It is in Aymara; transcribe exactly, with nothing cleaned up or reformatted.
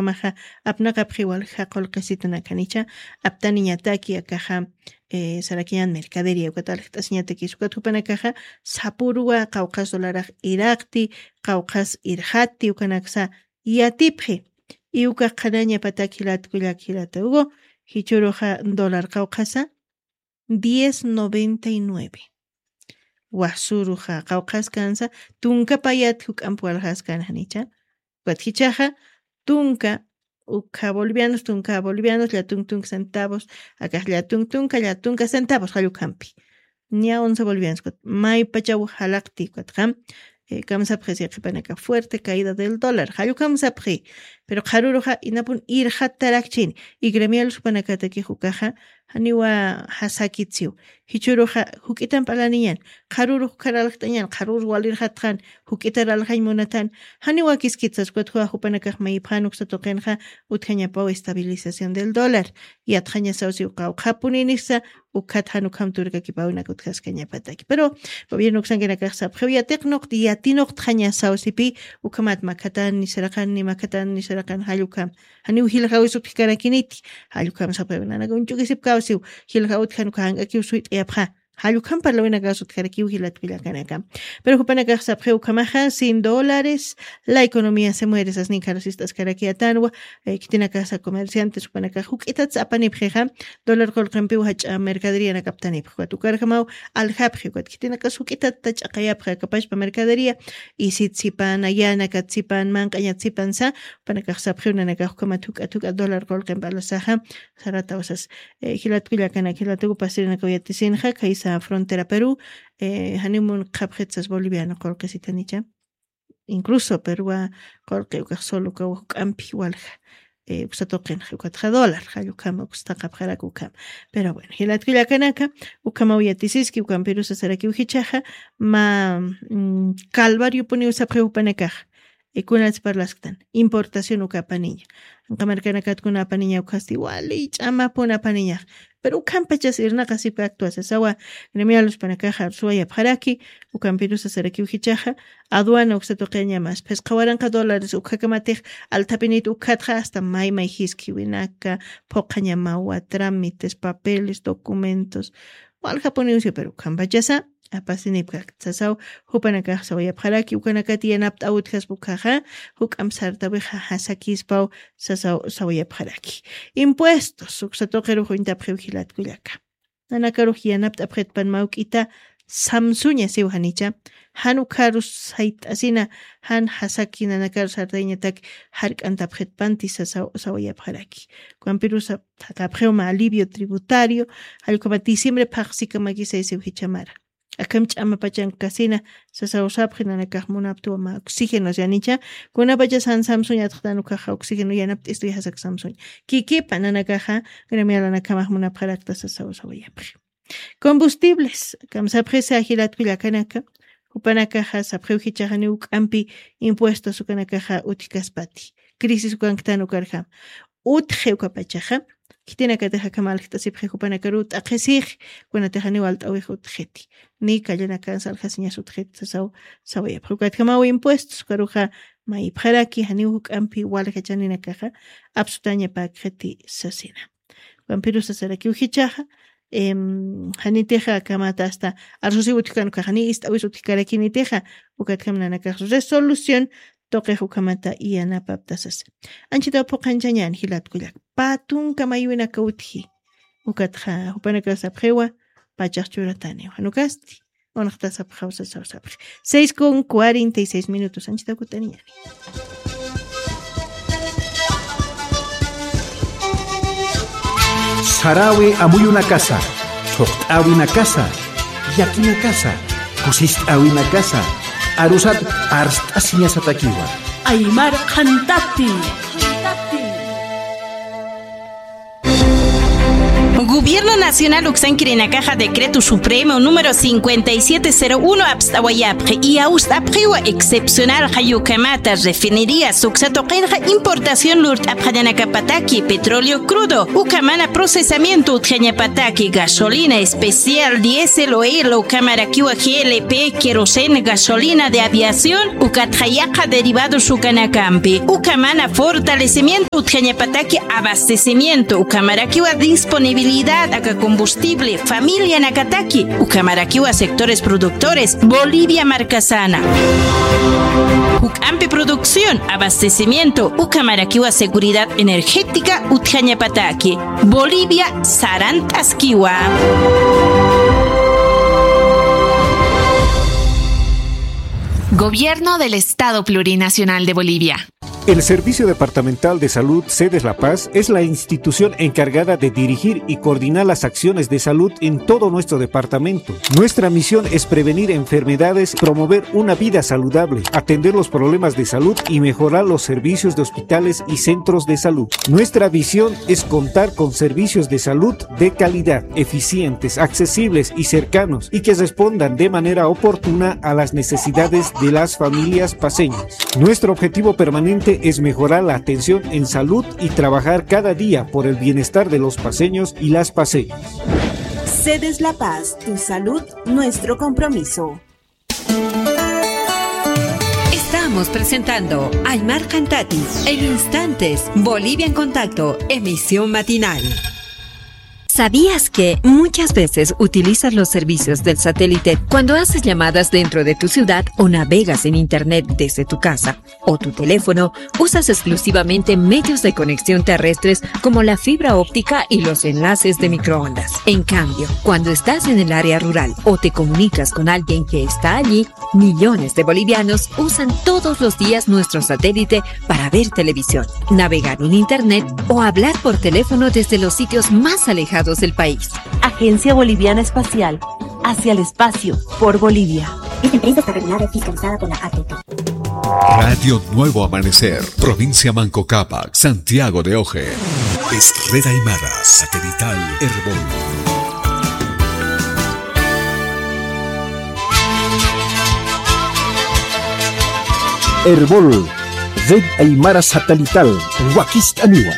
Ukhamaxa apnaqapxi walja qullqisitanakanicha, aptaniñataki akaxa, eh, sarakiñan mercadería ukat aljt'asiñatakis ukat jupanakaxa sapürwa qawqhas dolarax iraqti, qawqhas irxatti ukanaksa yatipxi. Y ukax qhanañapatak jilat kullak jilata ugu, jichhüruxa dólar qawqhasa diez noventa y nueve. Wasuruxa qawqhas kansa tunka payat juk'amp waljas kan janicha. Ukat jichhaxa tunka ukha bolivianos, tunka bolivianos, llatunk tunka centavos, akax llatunk tunka, llatunk tunka centavos jallukhampi. Ña once bolivianos ukat maypachaw jalaqti ukatxa, eh, kamsapxi siqipanaka fuerte caída del dólar jallukhamsapxi. Pero qharuruxa inapun irxattarakchini. Y gremial jupanakatakix ukaxa janiwa jasakitsiw. Jichhüruxa juk'itamp alaniñan, qharürux ukhar aljt'añan, qharürux walirxatxan, juk'itar aljañ munatan, janiwa kiskitsas ukat jupanakax mayipxan uksa tuqinxa utjañapaw estabilización del dólar. Yatxañasaw siw qawqhapuninisa, ukhat jan ukham turkakipäwinak utjaskañapataki. Pero gobierno uksankinakax sapxiw yatiqnuqti, yatinuqtxañasaw sipï, ukhamat makhatan nisaraqan, ni makhatan nisaraqan jall ukham. Janiw jilxawis utjkarakiniti, jall ukham sapxiw nanaka uñch'ukisipkaw siw, jilxaw utjan uka jank'akiw suyt'ayapxa. Jall ukham parlawinakas utjarakiw jilat kullakanaka. Pero jupanakax sapxiw ukhamaxa, sin dólares, la economía se muere, sasnin kharus ist'askarakiyatanwa, eh, khitinakasa comerciantes jupanakax juk'itats apanipxixa, dólar qullqimpiw jach'a mercaderianakaptanipxi, ukat ukarjamaw aljapxi, ukat khitinakas juk'itatta ch'aqayapxi, akapachpa mercadería, isitsipan, ayanakatsipan, manq'añatsipan sa, jupanakax sapxiw nanakax ukhamat juk'at juk'at dólar qullqimp alasaxa, sarataw sas, eh, jilat kullakanak, jilat ugu pasirinakaw yatisinxa, khaysa frontera Perú, eh, janiw munqhapxit sas boliviano qullqisitanicha. Incluso Perúwa qullqi ukax solo ukaw juk'ampi walja, eh, uksa tuqinxa, ukatxa dólar, jall ukhama, uksa thaqhapxarak ukhama. Pero bueno, jilat kullakanaka, ukhamaw yatisiski, ukampirusa sarakiw jichhaxa, mä, mm, calvariopuniw sapxiw jupanakaxa. Eh, kunats parlasktan, importación uka apaniña. Anqa markanakatkunaw apaniña ukhasti, wali ch'amapun apaniñax. Pero ukhampachas irnaqasipkakta sasawa, gremial jupanakaxa arsuwayapxaraki, ukampirusa sarakiw jichhaxa, aduana uksa tuqiñamas, phisqa waranqa dólares ukhakamatix althapinit ukhatxa hasta may may jiskiwinaka, phuqhañamawa, trámites, papeles, documentos, waljapuniw siw, pero ukhampachasa, apasinipkakta sasaw, jupanakax sawayapxaraki, ukanakati yanapt'äw utjaspa ukhaxa, juk'amp sartawixa jasakispaw sasaw sawayapxaraki. Impuestos, uksa tuqirux uñtapxiw jilat kullaka. Nanakarux yanapt'apxitpan mä juk'ita samsuña siw janicha, jan ukharus sayt'asina, jan jasaki nanakarus sartayañatak jark'antapxitpanti sasaw sawayapxaraki. Ukampirusa thaqhapxiw mä alivio tributario, jall ukhama diciembre phaxsikamakisay siw jichha mara. Akham ch'amapachankkasina, sasaw sapxi nanakax munaptwa mä oxígeno, yanicha, kunapachas jan samsuña atxtan ukhaxa oxígeno yanapt'istuy jasak samsuña. Kikipa nanakaxa, gremialanakamax munapxarakta sasaw sawayapxi. Combustibles, kamsapxisa jilat kullakanaka, jupanakaxa sapxiw jichhaxa janiw juk'ampi impuestos ukanakaxa utjkaspati. Crisis ukanktan ukarjam. Utji ukapachaxa, khitinakatix akham aljt'asipxi jupanakaruw t'aqhisix, kunatix janiw alt'äwix utjiti. Ni callanakansa aljasiñas utjiti sasaw sawayapxi. Ukatjamaw impuestos, ukaruxa mayipxaraki, janiw juk'ampi walja chaninakaxa, apsutañapäkxiti sasina. Ukampirusa sarakiw jichhaxa, em, janitixa akamata hasta arsusiw utjkan ukaxa, ni ist'äwis utjkarakinitixa, ukatjam nanakax resolución tuqix ukhamata yanapapta sasa. Anchhitaw phuqhanchañän jilat kullak. Pä tunka maywinaka utji. Ukatxa jupanakax sapxiwa, pachax churataniwa. Jan ukasti. Unxtasapxaw sasaw sapxi. Seis con cuarenta y seis minutos. Anchhitaw kutaniñäni. Sarawi amuyunakasa, thuqt'äwinakasa, llakinakasa, kusist'äwinakasa, arusat arst'asiñasatakiwa. Aymar qhantati. Gobierno Nacional uksankirinakaxa Decreto Supremo número cincuenta y siete cero uno apst'awayapxi, y awst'apxiwa excepcional jayukamata refinerías uksa tuqinxa importación lurt'apxañanakapataki petróleo crudo, ukamana procesamiento utjañapataki gasolina especial, diésel, oil, ukamarakiwa G L P, queroseno, gasolina de aviación, ukatxa yaqha derivados ukanakampi, ukamana fortalecimiento utjañapataki abastecimiento, ukamarakiwa disponibilidad aka combustible familianakataki, ukamarakiwa sectores productores, Bolivia markasana. Juk'ampi producción, abastecimiento, ukamarakiwa seguridad energética utjañapataki, Bolivia sarant'askiwa. Gobierno del Estado Plurinacional de Bolivia. El Servicio Departamental de Salud Sedes La Paz es la institución encargada de dirigir y coordinar las acciones de salud en todo nuestro departamento. Nuestra misión es prevenir enfermedades, promover una vida saludable, atender los problemas de salud y mejorar los servicios de hospitales y centros de salud. Nuestra visión es contar con servicios de salud de calidad, eficientes, accesibles y cercanos, y que respondan de manera oportuna a las necesidades de las familias paceñas. Nuestro objetivo permanente es mejorar la atención en salud y trabajar cada día por el bienestar de los paceños y las paceñas. Sedes La Paz, tu salud, nuestro compromiso. Estamos presentando Aymar Cantati. En instantes, Bolivia en Contacto, emisión matinal. ¿Sabías que muchas veces utilizas los servicios del satélite cuando haces llamadas dentro de tu ciudad o navegas en internet desde tu casa o tu teléfono? Usas exclusivamente medios de conexión terrestres como la fibra óptica y los enlaces de microondas. En cambio, cuando estás en el área rural o te comunicas con alguien que está allí, millones de bolivianos usan todos los días nuestro satélite para ver televisión, navegar en internet o hablar por teléfono desde los sitios más alejados del país. Agencia Boliviana Espacial, hacia el espacio, por Bolivia. Esta empresa está regulada y fiscalizada por la A T T. Radio Nuevo Amanecer, provincia Manco Cápac, Santiago de Oje. Es Red Aymara, satelital Erbol. Erbol, Red Aymara Satelital, wakist'aniwa.